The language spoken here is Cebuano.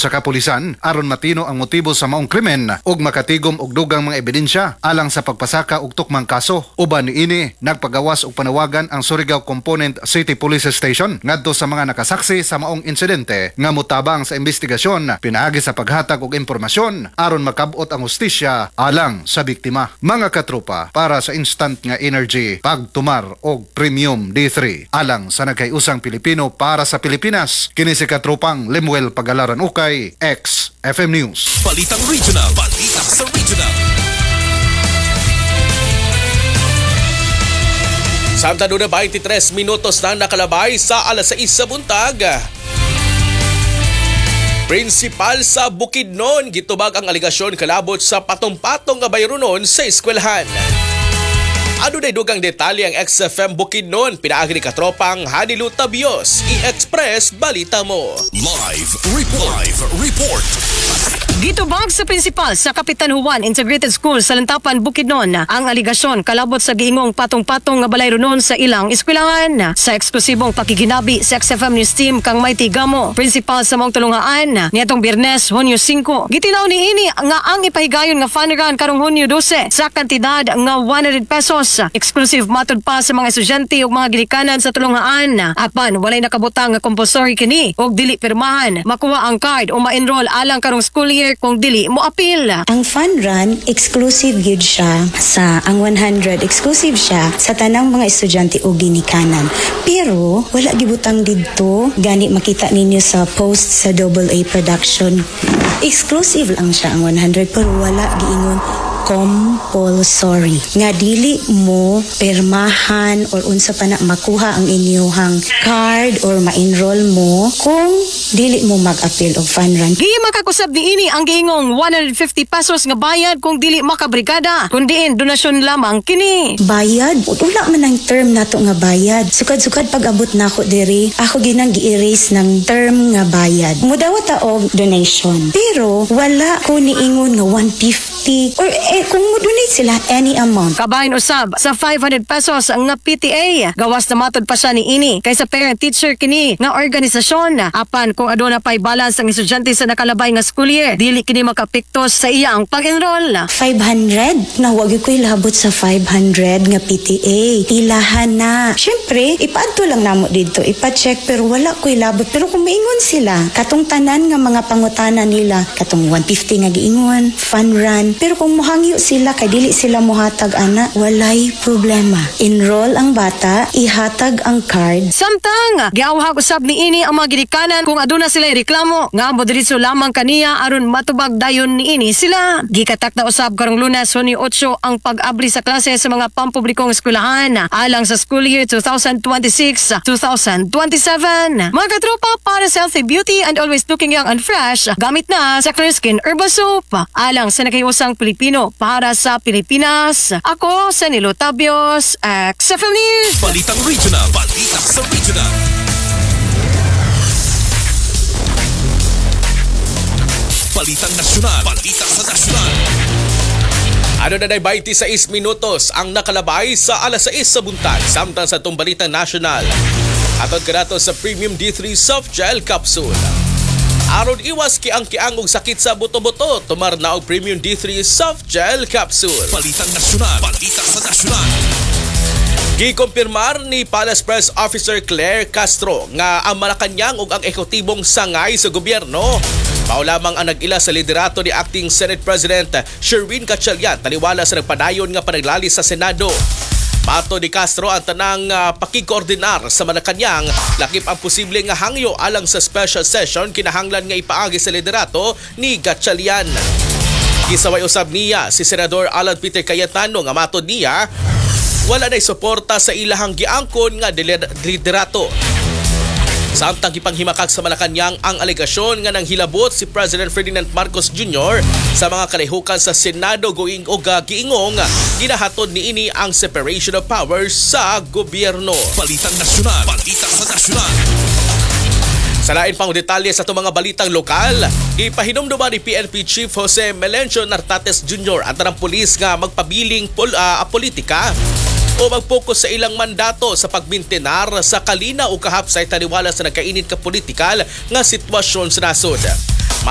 sa kapulisan aron matino ang motibo sa maong krimen ug makatigom og dugang mga ebidensya alang sa pagpasaka og tukmang kaso. Uban niini, nagpagawas og panawagan ang Surigao Component City Police Station ngadto sa mga nakasaksi sa maong insidente nga motabang sa investigasyon pinaagi sa paghatag og impormasyon aron makabot ang hustisya alang sa biktima. Mga katropa, para sa instant nga energy, pagtumar og Premium D3 alang sa nagkayusang Pilipino para sa Pilipinas. Kini si katropang Lemuel Pagalaran Ukay, XFM News. Balitang Regional. Balita sa Regional. Samtang doon na 23 minutos na nakalabay sa alas 6 sa buntag. Prinsipal sa Bukidnon, gitubag ang aligasyon kalabot sa patong-patong nga bayronon sa eskwelahan. Ano na dugang detalye ang XFM Bukidnon, pinaagi ni katropang Hanilu Tabios, i-express balita mo. Live Report. Live Report. Gitubag sa prinsipal sa Kapitan Juan Integrated School sa Lantapan, Bukidnon ang aligasyon kalabot sa giingong patong-patong nga balay ronon sa ilang eskwelahan. Sa eksklusibong pakiginabi sa XFM News Team kang Mighty Gamo, prinsipal sa maong tulungaan niadtong Biyernes, Hunyo 5. Gitilaw ni ini nga ang ipahigayon nga fun run karong Hunyo 12 sa kantidad nga 100 pesos. Exclusive matod pa sa mga estudyante ug mga ginikanan sa tulungaan. Apan walay nakabutang nga compulsory kini og dili pirmahan. Makuha ang card o ma-enroll alang karong school year kung dili mo apil. Ang fun run, exclusive gyud siya sa ang 100, exclusive siya sa tanang mga estudyante o ginikanan. Pero wala gibutang didto, gani makita ninyo sa post sa Double A Production. Exclusive lang siya ang 100 pero wala giingon compulsory nga dili mo permahan or unsa pa na makuha ang inyuhang card or ma-enroll mo kung dili mo mag-appeal og fun run. Di makakusab ni ini ang giingong 150 pesos nga bayad kung dili makabrigada, kundiin donasyon lamang kini. Bayad, wala man ang term nato nga bayad. Sukad-sukad pag abot nako diri, ako ginang gi-erase ng term nga bayad. Mudawat ta og donation. Pero wala ko niingon nga 150 or kung mo donate sila any amount. Kabahin usab sa 500 pesos nga PTA. Gawas na matod pa siya ni ini kaysa parent teacher kini nga organisasyon. Apan kung aduna pay balance ang estudyante sa nakalabay nga school year, dili kini makapiktos sa iyang pag-enroll. 500? Na wag ko ilabot sa 500 nga PTA. Ilahan na. Syempre, ipaadto lang namo dito, ipa-check pero wala ko ilabot. Pero kung maingon sila, katong tanan nga mga pangutana nila, katong 150 nga giingon, fun run. Pero kung muhangyo sila kay dili sila muhatag ana, walay problema. Enroll ang bata, ihatag ang card. Samtang giawhag usab ni ini ang mga ginikanan kung aduna sila reklamo nga modiretso lamang kaniya aron matubag dayon ni ini sila. Gikatak na usab karong Lunes, Hunyo 8 ang pag-abli sa klase sa mga pampublikong eskwelahan alang sa school year 2026-2027. Mga katropa, para sa healthy beauty and always looking young and fresh, gamit na sa Clear Skin Herbal Soap. Alang sa nakahiusang Pilipino para sa Pilipinas. Ako sa Nilo Tabios, XFM News. Balitang Regional. Balita sa Regional. Balitang Nasyonal. Balita sa Nasyonal. Ano na 26 minutos ang nakalabay sa alas 6 sa buntag samtang sa itong Balitang Nasyonal. Atod kanato sa Premium D3 Soft Gel Capsule. Aron iwas kiang-kiang og sakit sa buto-buto, tumar na og Premium D3 Soft Gel Capsule. Balitang Nasyonal. Balita sa Nasyonal. Gikumpirmar ni Palace Press Officer Claire Castro nga ang Malacañang ug ang ehekutibong sangay sa gobyerno mao lamang ang nag-ila sa liderato ni Acting Senate President Sherwin Gatchalian taliwala sa nagpadayon nga panaglali sa Senado. Mato ni Castro ang tanang pakigkoordinar sa Malacañang lakip ang posible nga hangyo alang sa special session kinahanglan nga ipaagi sa liderato ni Gatchalian. Gisaway usab niya si Senador Alan Peter Cayetano nga matod niya wala na'y suporta sa ilahang giangkon nga liderato. Samtang gipanghimakak sa Malacañang ang alegasyon nga nanghilabot si President Ferdinand Marcos Jr. sa mga kalihukan sa Senado going og giingong ginahatod niini ang separation of powers sa gobyerno. Balitang Nasyonal. Balita sa Nasyonal. Sa lain pang detalye sa itong mga balitang lokal, ipahinumduma ni PNP Chief Jose Melencio Nartates Jr. ang tanang pulis nga magpabiling politika o magpokus sa ilang mandato sa pagmintenar sa kalina o kahapsay taliwala sa nagkainit ka politikal nga sitwasyon sa nasod.